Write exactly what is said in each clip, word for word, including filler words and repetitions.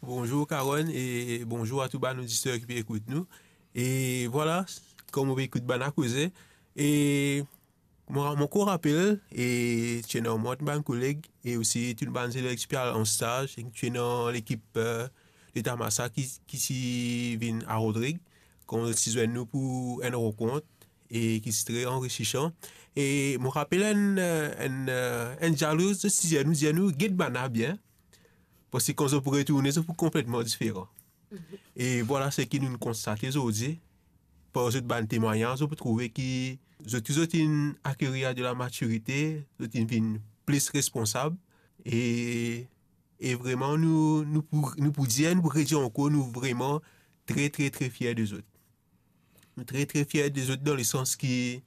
Bonzour Karonn e bonzour a tou bann oditer ki pe ekout nou. E vwala, kouma nou pe ekout bann la koze, e mo, mo ankor rapel, e ti ena mwa, bann koleg, e osi tou bann zelev ki ti pe al an staz, e ti ena lekip, eh, Leta Masa ki, ki ti vinn a Rodrig, kouma zot ti zwenn nou pou enn rankont, e ki ti tre anrisisan. E mo rapel enn, eh, enn, eh, enn dialog, zot ti dir nou, dir nou, "Get bann la bien, parski kan zot pou retourne, zot pou konpletman diferan." E vwala seki nou konstate zordi, par zot bann temwagnaz, zot pou trouve ki zot, ki zot inn akerir de la matirite, zot inn vinn plis responsab, e, e vreman nou, nou pou, nou pou dir, nou pou redir ankor, nou vreman tre, tre, tre fier de zot. Nou tre, tre fier de zot dan lesans ki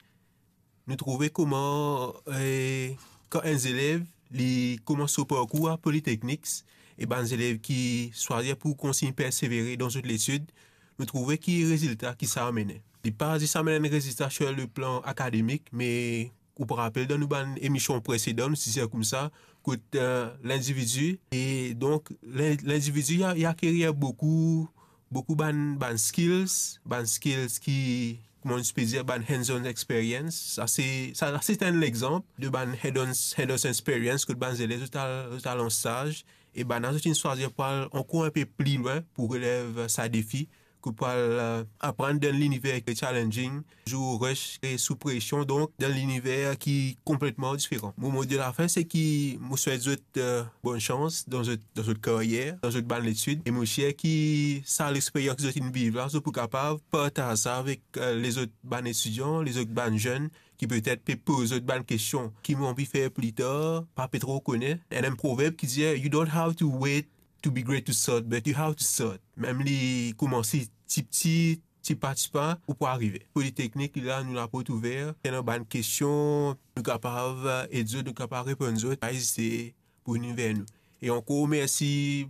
nou trouve kouma, eh, kan enn zelev, li koumans so parkour a Polytechnics, e bann zelev ki swazir pou kontign persevere dan zot letid, nou trouve ki rezilta ki sa amene. Li pa zis amenn enn rezilta sur le plan akademik, me ou pou rapel dan nou bann emision presedan, nou ti dir koumsa, kot, eh, lindividi, e donk, lin-, lindividi, li a, li akerir boukou, boukou bann, bann skills, bann skills ki, kouma nou ti pe dir, bann hands-on experience. Sa se, sa, sa se enn lexanp de bann hands-on, hands-on experience kot bann zelev zot al, zot al an staz, e bann la zot inn swazir pou al ankor enn pe pli lwin, pou relev sa defi, ki pou al, eh, aprann dan liniver ki challenging, sou rush e sou presion, donk dan liniver ki konpletman diferan. Mo mo de lafin, se ki mo swet zot, eh, bonn sans dan zot, dan zot karyer, dan zot bann letid, e mo sir ki sa lexperyans ki zot inn viv la, zot pou kapav partaz sa avek, eh, lezot bann etidian, lezot bann zenn, ki petet pe poz zot bann kestion, ki mo anvi fer pli tar, pa pe tro kone. Ena enn proverb ki dir, "You don't have to wait to be great to start, but you have to start." Mem li koumanse tipti, tipa tipa, ou pou arive. Polytechnics, li la, nou laport ouver. Ena bann kestion, nou kapav ed zot, nou kapav reponn zot, pa ezite pou vini ver nou. E ankor mersi,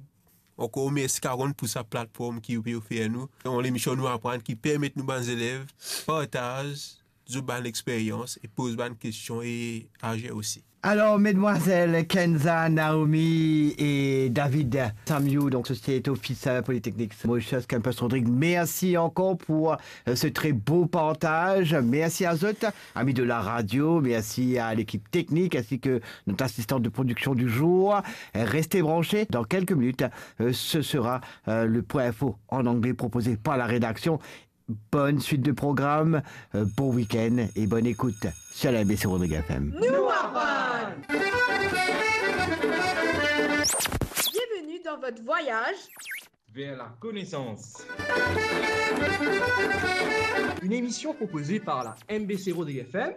ankor mersi Karonn pou sa platform ki ou pe ofer nou. Dan lemision Nou Aprann ki permet nou bann zelev partaz zot bann lexperyans e poz bann kestion e azir osi. Alors, mesdemoiselles Kenza, Naomi et David Samiou, donc Associate Officer Polytechnics Mauritius Campus Rodrigues, merci encore pour, euh, ce très beau partage. Merci à zot, amis de la radio, merci à l'équipe technique ainsi que notre assistante de production du jour. Restez branchés, dans quelques minutes, euh, ce sera, euh, le point info en anglais proposé par la rédaction. Bonne suite de programme, euh, bon week-end et bonne écoute sur la M B C Rodrigues F M. Nou aprann. Bienvenue dans votre voyage vers la connaissance. Une émission proposée par la M B C Rodrigues F M.